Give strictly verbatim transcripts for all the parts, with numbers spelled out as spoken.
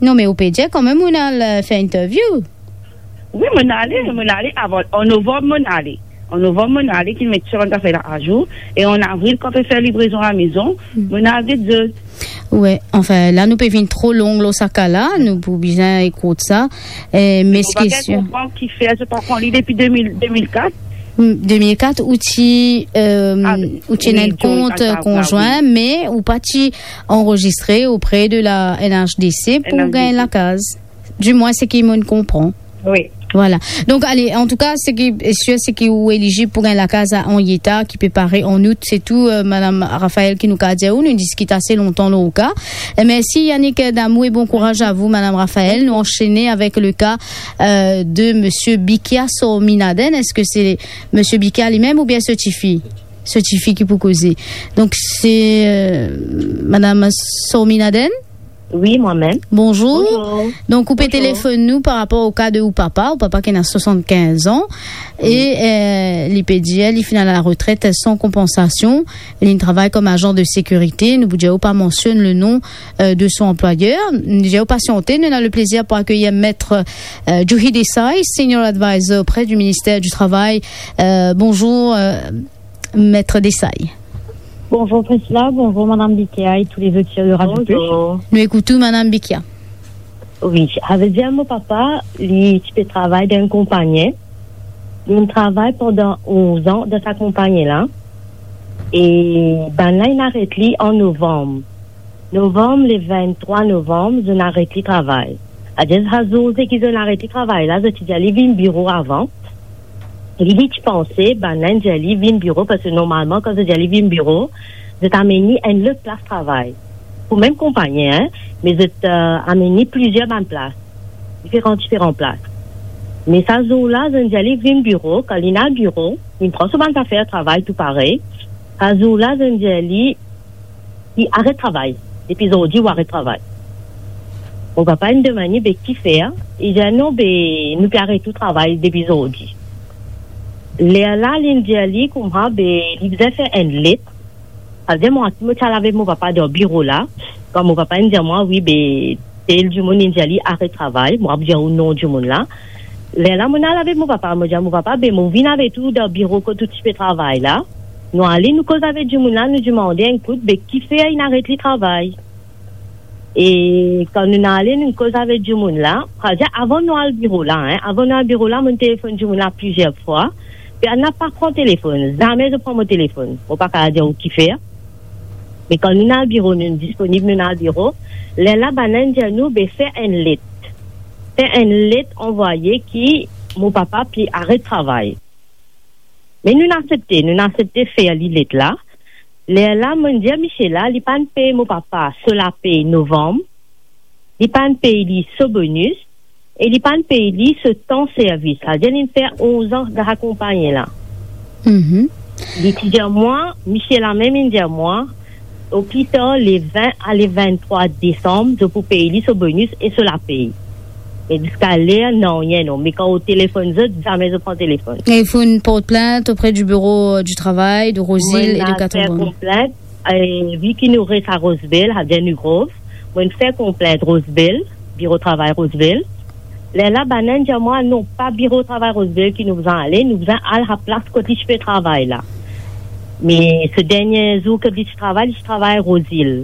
Non, me ou pe dir kanmem ou al, euh, fer interview. Wi, mo'nn ale, mo'nn ale avan, an novanm mo'nn ale. An novanm mo'nn ale, ki met tou bann zafer la azour, e an avril, kan pe fer livrezon lamezon, mo'nn al get zot. Wi, anfin, la nou pe vinn tro long lor sa ka la, nou pou bizin ekout sa. Eh, me... Mo pa bien konpran kifer zot pa pran li depi de mil, de mil kat. Hmm, de mil kat, ou ti, euh, ou ti ena enn kont konzwin, me ou pa ti anrezistre opre de la N H D C pou gagn lakaz. Dimwin, seki mo'nn konpran. Wi. Vwala. Donk, ale, antouka, seki sir, seki ou elizib pou gagn lakaz a Henrietta, ki pe pare an out, se tou, euh, Madam Raphaël, ki nou kapav dir ou, nou diskit ase lontan lor ou ka. E mersi, Yannick Damou, e bon kouraz a vou, Madam Raphaël. Nou ansene avek le ka, euh, de Monsieur Bikia Sorminaden. Eski se Monsieur Bikia limem oubien so tifi? So tifi ki pou koze. Donk, se, euh, Madam Sorminaden? Wi, mwa mem. Bonzour. Bonzour. Donk, ou pe telefonn nou par rapor o ka de ou papa, ou papa ki ena swasannkinz an, e, euh, li pe dir, li finn al laretret san konpansasion, li travay kom azan de sekirite, nou pou dir ou pa mansionn le nom, euh, de son anplwayer. Nou dir ou pasiante, nou ena le plezir pou akeyir Maître, euh, Juhi Desai, Senior Advisor auprès du ministère du Travail. Euh, bonzour, euh, Maître Desai. Bonzour Priscilla, bonzour Madame Bikia et tous les auditeurs de Radio Plus. Bonzour. Nou ekout ou, Madam Bikia. Wi, savedir mo papa, li ti pe travay dan enn konpagni. Li travay pandan onz an dan sa konpagni la. E bann la inn aret li an novanm. Novanm, le venntrwa novanm, zot inn aret li travay. Savedir sa zour seki zot inn aret li travay la, zot ti dir li vinn biro avan. Li, li ti panse, bann la inn dir li vinn biro, parski normalman, kan zot dir li vinn biro, zot amenn li enn lot plas travay. Pou mem konpagni, hein, me zot, euh, amenn li plizier bann plas, diferan, diferan plas. Me sa zour la, zot inn dir li vinn biro, kan li inn al biro, li pran so bann zafer travay tou parey. Sa zour la, zot inn dir li, li aret travay. Depi zordi, ou aret travay. Mo papa inn demann li, be kifer? Li dir, non, be, nou pe aret ou travay depi zordi. Lerla, li inn dir li kouma, be, li bizin fer enn let. Savedir mwa, mo ti al avek mo papa dan biro la. Kan mo papa inn dir mwa, wi, be, tel dimoun inn dir li aret travay, mo ap dir ou non dimoun la. Lerla, mo al avek mo papa, mo dir mo papa, be, mo vinn avek ou dan biro kot ou ti pe travay la. Nou ale, nou koz avek dimoun la, nou dimande enn kout, be, kifer inn aret li travay? E kan nou ale, nou koz avek dimoun la, savedir avan nou al biro la, hein, avan nou al biro la, mo telefonn dimoun la plizier fwa, personn pa pran telefonn, zame zot pran mo telefonn. Mo pa kapav dir ou kifer. Me kan nou al biro, nou disponib, nou al biro. Lerla, bann la inn dir nou, be, fer enn let. Fer enn let anvwaye ki mo papa pe aret travay. Me nou aksepte, nou aksepte fer li let la. Lerla, mo dir misie la, li pa'nn pey mo papa so lapey novanm, li pa'nn pey li so bonis, e li pa'nn pey li so tan servis. Savedir li fer onz an dan sa konpagni la. Mhm. Li ti dir mwa, misie la mem inn dir mwa, o pli tar, le vin a le venntrwa desam, zot pou pey li so bonis e so lapey. Me ziska ler, nanye, non. Me kan ou telefonn zot, zame zot pran telefonn. E finn port plint auprès du bureau du travail de Rosil e de Quatre-Bonnes. Mo'nn al fer konplint, e, vi ki nou res a Roseville, savedir New Grove, mo'nn fer konplint Roseville, biro travay Roseville. Lerla, bann la inn dir mwa, non, pa biro travay Roseville ki nou bizin ale, nou bizin al sa plas kot li ti pe travay la. Me so dernie zour kot li ti travay, li ti travay Rosil.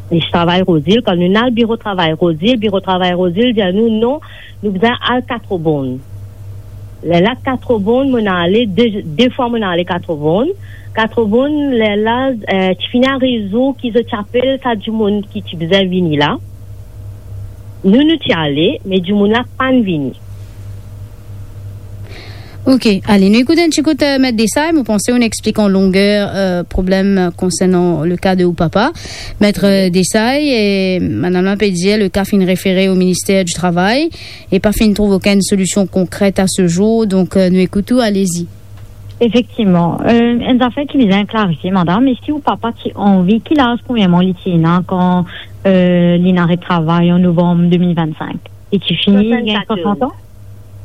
Li ti travay Rosil, kan nou al biro travay Rosil, biro travay Rosil dir nou, non, nou bizin al Quatre-Bonnes. Lerla Quatre-Bonnes, mo'nn ale, de, de fwa mo'nn ale Quatre-Bonnes. Quatre-Bonnes, lerla, eh, ti fini ariv zour ki zot ti apel sa dimoun ki ti bizin vini la. Nou, nou ti ale, me dimoun la pa'nn vini. Ok, ale, nou ekout enn ti kout, eh, Maître Desai, mo panse ou'nn explik an longer, eh, problem, eh, konsernan le ka de ou papa. Maître, eh, Desai, e madam la pe dir, le ka finn refere au ministère du travail e pa finn trouv okenn solision konkret a se zour, donk, eh, nou ekout ou, allez-y. Efektivman. Eh, enn zafer ki bizin klarifie, madam, eski ou papa ti anvi, ki laz premierman li ti ena kan, eh, li'nn aret travay an novanm de mil vennsink? Li ti fini gagn swasannkatorz. Swasant an?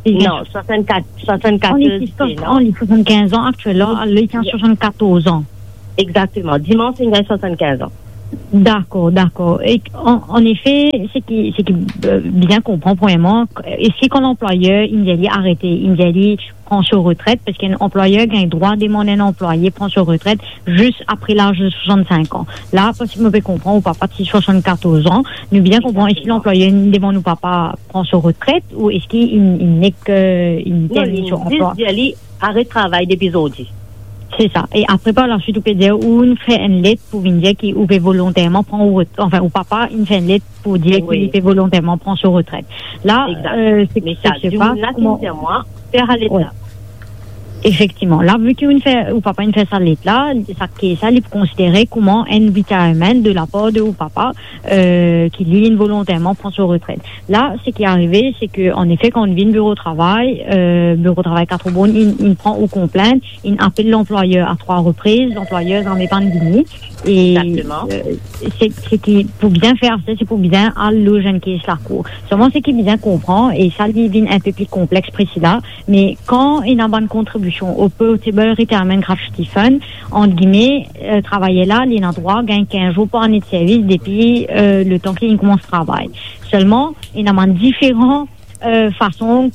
Non, swasannkat, swasannkatorz, li ti swasannkinz an aktiel la, li ti swasannkatorz an. Exactement. Dimans, li gagn swasannkinz an. Dakor, dakor. E an, an efe, se ki, se ki, euh, bien konpran, premierman, eski kan lanplwayer, inn dir li arete, inn dir li pran so retret, parski enn anplwayer gagn drwa demann enn anplwaye pran so retret zis apre laz de swasann-sink an. La, parski mo pe konpran, ou papa ti swasann-katorz an, nou bien konpran, eski lanplwayer inn demann ou papa pran so retret, ou eski inn, inn nek, euh, inn terminn so anplwa? Non, li zis dir li aret travay depi zordi. Se sa. E apre, par laswit, ou pe dir, ou inn fer enn let pou vinn dir ki ou pe volonterman pran ou ret-, anfin, ou papa inn fer enn let pou dir ki li pe volonterman pran so retret. La, euh, se, se, se pa kouma fer alet la. Efektivman. La, vi ki ou inn fer, ou papa inn fer sa let la, sa kes la, li pou konsidere kouma enn retirement de lapar de ou papa, euh, ki li, li inn volonterman pran so retret. La, se ki arive, se ke, an efe, kan ou vinn biro travay, euh, biro travay Quatre-Bornes, inn, inn pran ou konplint, inn apel lanplwayer a trwa repriz, lanplwayer zame pa'nn vini. E, euh, se, se ki pou bien fer sa, se pou bien al loz enn kes lakour. Selman, se ki bizin konpran, e sa, li vinn enn pe pli konplex, Priscilla, me kan ena bann kontribision au Portable Retirement Gratuity Fund, ant gime, euh, travayer la, li ena drwa gagn kinz zour par ane de servis depi, euh, letan ki li koumans travay. Selman, ena bann diferan, euh, fason,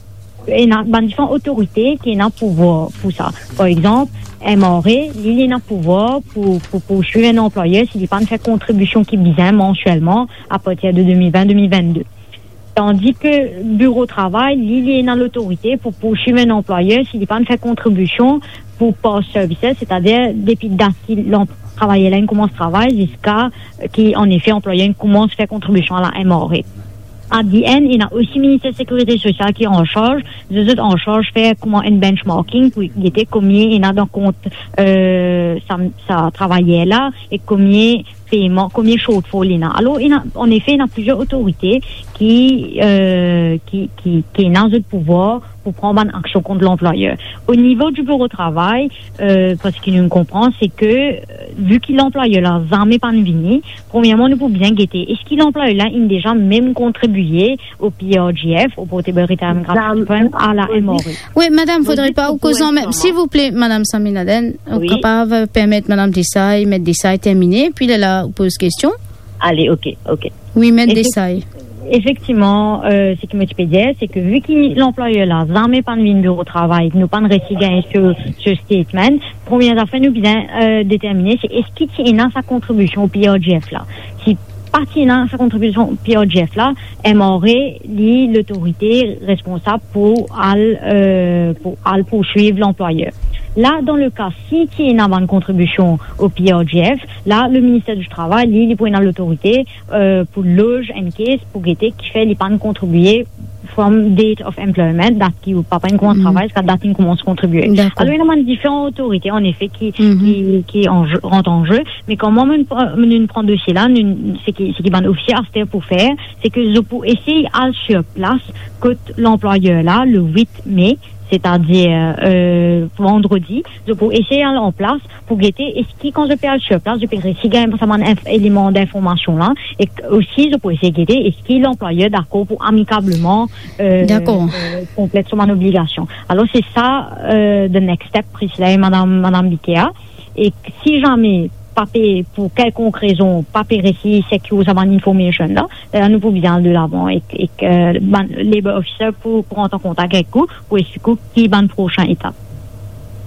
ena bann diferan otorite ki ena pouvwar pou sa. Par exanp, M R A, li, li ena pouvwar pou, pou, pou pourswiv enn anplwayer si li pa'nn fer kontribision ki bizin mansielman apartir de de mil vin, de mil vinn-de. Tandi ki biro travay, li, li ena lotorite pou pourswiv enn anplwayer si li pa'nn fer kontribision pou past services, setadir depi dat ki lanp-, travayer la inn koumans travay ziska ki, an efe, anplwayer inn koumans fer kontribision a la M R A. At the end, ena osi Minister Sekirite Sosial ki an sarz, zot, zot an sarz fer kouma enn benchmarking pou gete konbien ena dan kont, euh, sa, sa travayer la e konbien peyman, konbien shortfall ena. Alor, ena, an efe, ena plizier otorite ki, euh, ki, ki, ki ena zot pouvwar pou pran bann aksion kont lanplwayer. O nivo di biro travay, euh, parski nou konpran, se ke, euh, vi ki lanplwayer la zame pa'nn vini, premierman, nou pou bien gete, eski lanplwayer la inn deza mem kontribie o P R G F, o Portable Retirement Gratuity Fund, a la M R A. Wi, madam, fodre pa ou koz anmem. Silvouple, madam Saminaden, ou kapav permet madam Desai, met Desai termine, pi lerla ou poz kestion. Ale, ok, ok. Wi, met Desai. Efektivman, euh, seki mo ti pe dir, se ke vi ki lanplwayer la zame pa'nn vinn biro travay, nou pa'nn resi gagn so, so statement, premie zafer nou bizin, euh, determine, se eski ti ena sa kontribision o P R G F la. Si pa ti ena sa kontribision P R G F la, M R A, li, lotorite responsab pou al, euh, pou al pourswiv lanplwayer. La, dan le ka, si ti ena bann kontribision o P R G F, la, le Minister di Travay, li, li pou ena lotorite, euh, pou loz enn kes, pou gete kifer li pa'nn kontribie from date of employment, dat ki ou papa inn koumans travay, ziska dat inn koumans kontribie. Alor, ena bann diferan otorite, an efe, ki, ki, ki an je, rant an ze. Me kan mwa, mo, mo, nou pran dosie la, nou, seki, seki bann ofisie aster pou fer, se ke zot pou esey al sur plas kot lanplwayer la, le wit me, setadir, euh, vandredi, zot pou esey al an plas pou gete eski kan zot pe al sur plas, zot pe resi gagn sa bann inf-, eleman dinformasion la, e osi zot pou esey gete eski lanplwayer dakor pou amikableman, euh, euh, konplet so bann obligasion. Alor, se sa, euh, the next step, Priscilla e madam, madam Bikea. E si zame pa pe, pou kelkonk rezon, pa pe resi secure sa bann information la, la nou pou bizin al delavan ek, ek, euh, bann labor officer pou, pou rant an kontak ek ou, pou explik ou ki bann prosin etap.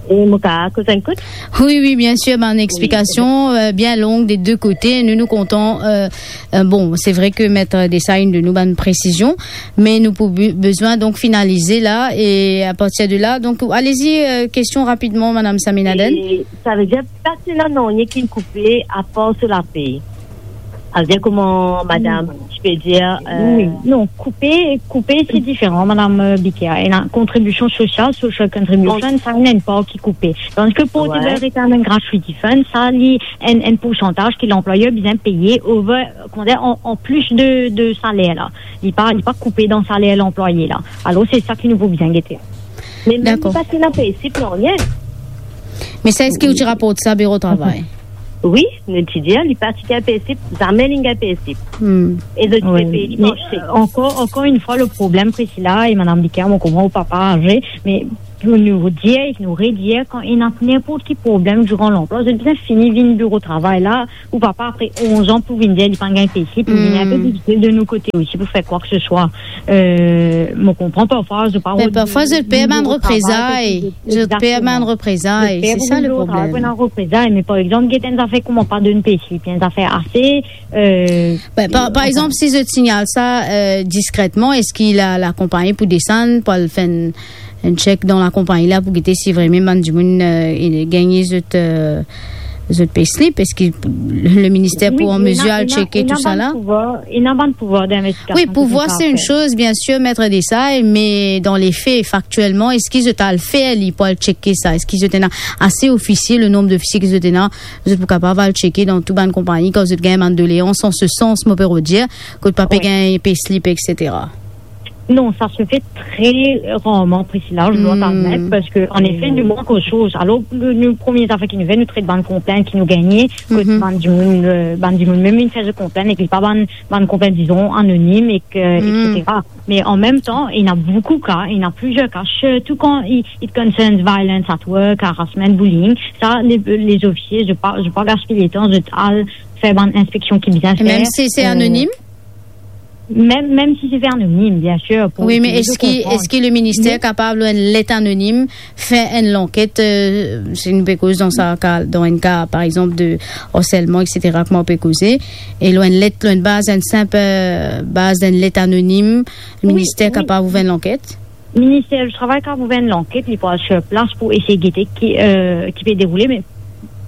E mo ka koz enn kout? Wi, wi, bien sir, bann explikasion, euh, bien long de de kote. Nou, nou kontan, euh, euh, bon, se vre ke met Desai inn donn nou bann presizion, me nou pou be-, bezwin donk finalize la, e a partir de la, donk, allez-y, euh, kestion rapidman, madam Saminaden. E savedir, pa ti ena nanye ki koupe apar so lapey. Savedir kouma madam, ti pe dir, euh, wi, non, koupe, koupe, se diferan, madam, euh, Bikea. Ena kontribision sosial, social contribution, sa ena enn par ki koupe. Tandis ki Portable Retirement Gratuity Fund, sa li enn, enn poursantaz ki lanplwayer bizin peye over, kouma dir, an, an plis de, de saler la. Li pa, li pa koupe dan saler lanplwaye la. Alor, se sa ki nou pou bizin gete. Me mem li pa ti ena pay slip nanye. Me sa, eski ou ti raport sa biro travay? Wi, nou ti dir, li pa ti gagn pay slip, zame li gagn pay slip. E zot ti pe pey li par chek. Ankor, ankor enn fwa, le problem, Priscilla e madam Bikea, mo konpran ou papa aze, me pou nou dir, nou redir, kan ena ninport ki problem diran lanplwa, zot bizin fini vinn biro travay la, ou papa apre onz an pou vinn dir li pa gagn payslip, pou vinn inpe difisil de nou kote osi pou fer kwa ke se swa. Euh, mo konpran parfwa, zot pa... Me parfwa, zot per bann reprezay. Zot per bann reprezay. Se sa le problem. Pou enn reprezay, me par exanp, get enn zafer kouma pa donn payslip, enn zafer ase, euh, Ben, par, par exanp, si zot signal sa, euh, diskretman, eski la, lakonpagni pou desann, pou al fer enn, enn check dan lakonpagni la pou gete si vremem bann dimoun, euh, gagn zot, euh, zot payslip? Eski le minister pou an mezir al cheke tou sa la? Wi, ena bann pouvwar, ena bann pouvwar dinvestigasion. Wi, pouvwar, se enn soz, bien sir, met desay, me dan le fe, faktielman, eski zot al fer li pou al cheke sa? Eski zot ena ase ofisie, le nonb dofisie ki zot ena, zot pou kapav al cheke dan tou bann konpagni, kan zot gagn bann doleans an se sans, mo pe redir, kot pa pe gagn payslip, et cetera? Non, sa se fer tre rarman, Priscilla, je dois t'admettre, parski, an efe, nou mank soz. Alor, nou, nou, premie zafer ki nou fer, nou tret bann konplent ki nou gagne, kot bann dimoun, euh, bann dimoun mem vinn fer zot konplent, ek li pa bann, bann konplent, dizon, anonim, ek, euh, et cetera. Me an mem tan, ena boukou ka, ena plizier ka, sirtou kan it, it concerns violence at work, harassment, bullying, sa, le, lezofisie, zot pa, zot pa gaspiy letan, zot al fer bann inspeksion ki bizin fer. E mem si se anonim? Mem, mem si se fer anonim, bien sir. Wi, me eski, eski le minister kapav, lor enn let anonim, fer enn lanket, euh, si nou pe koz dan sa ka, dan enn ka, par exanp, de harselman, et cetera, kouma nou pe koze, e lor enn let, lor enn baz, enn sinp, euh, baz d'enn let anonim, le minister kapav ouver enn lanket? Minister di Travay kapav ouver enn lanket, li pou al sir plas pou esey gete ki, euh, ki pe deroule, me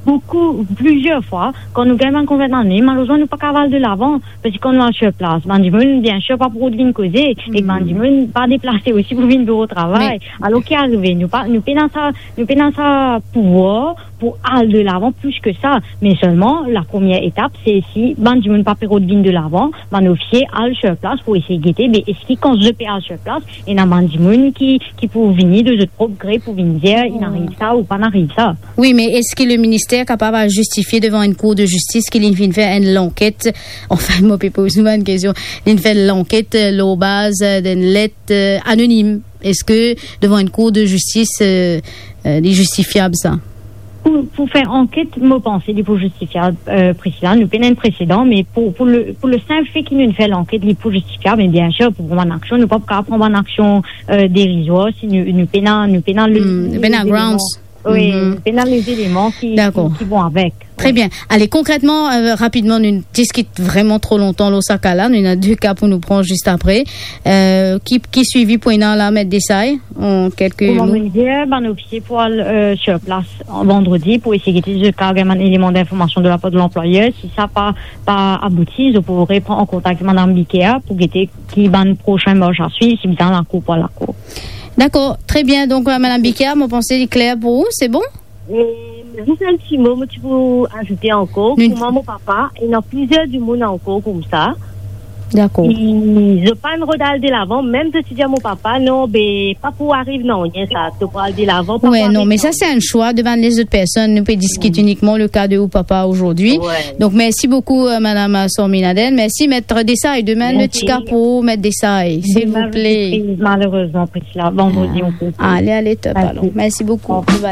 boukou, plizier fwa, kan nou gagn bann konplent anonim, malerezman, nou pa kapav al delavan, parski kan nou al sir plas, bann dimoun, bien sir, pa pou rod vinn koze, e bann dimoun pa deplase osi pou vinn biro travay. Alor, ki arive? Nou pa, nou pena sa, nou pena sa pouvwar pou al delavan plis ki sa. Me selman, lapremier etap, se si bann dimoun pa pe rod vinn delavan, bann ofisie al sir plas pou esey gete, be eski kan zot pe al sir plas, ena bann dimoun ki, ki pou vini de zot prop gre pou vinn dir, inn ariv sa ou pa ariv sa. Wi, me eski le minister kapav al zistifie devan enn kour de zistis ki linn finn fer enn lanket? Anfin, mo pe poz ou enn kestion. Linn fer lanket, euh, lor baz, euh, d'enn let, euh, anonim. Eski devan enn kour de zistis, euh, euh, li zistifiab sa? Pou, pou fer anket, mo panse li pou zistifiab, euh, Priscilla, nou pena enn presedan, me pou, pou le, pou le sinp fe ki nou fer lanket, li pou zistifiab, me bien sir, pou pran bann aksion, nou pa pou kapav pran bann aksion, euh, derizwar, si nou, nou pena, nou pena le, nou pena grounds. Wi, nou pena lezeleman ki, ki, ki bon avek. Tre bien. Ale, konkretman, euh, rapidman, nou diskit vreman tro lontan lor sa ka la. Nou ena de ka pou nou pran zis apre. Euh, ki, ki swivi pou ena la, Met Desai, an kelke mo? Kouma mo dir, bann ofisie pou al, euh, sir plas vandredi pou esey gete si zot kapav gagn bann eleman dinformasion de lapar de lanplwayer. Si sa pa, pa abouti, zot pou repran an kontak madam Bikea pou gete ki bann prosin mars a swiv, si bizin al lakour pou al lakour. Dakor, tre bien. Donk, euh, madam Bikea, mo panse li kler pou ou, se bon? E zis enn ti mo, mo ti pou azoute ankor, kouma mo papa, ena plizier dimoun ankor koumsa. Dakor. Zot pa'nn rod al delavan, mem zot ti dir mo papa, non, be, pa pou ariv nanye sa, to pou al delavan, pa pou ariv nanye. Wi, non, me sa se enn swa de bann lezot personn, nou pe diskit inikman le ka de ou papa ozordi. Donk, mersi boukou, euh, madam, euh, Sorminaden. Mersi, Met Desai, demin nou ti ka pou Met Desai, silvouple. Demin, malerezman, Priscilla, vandredi, nou pe. Ale, ale, top, alor. Mersi boukou. Bye bye.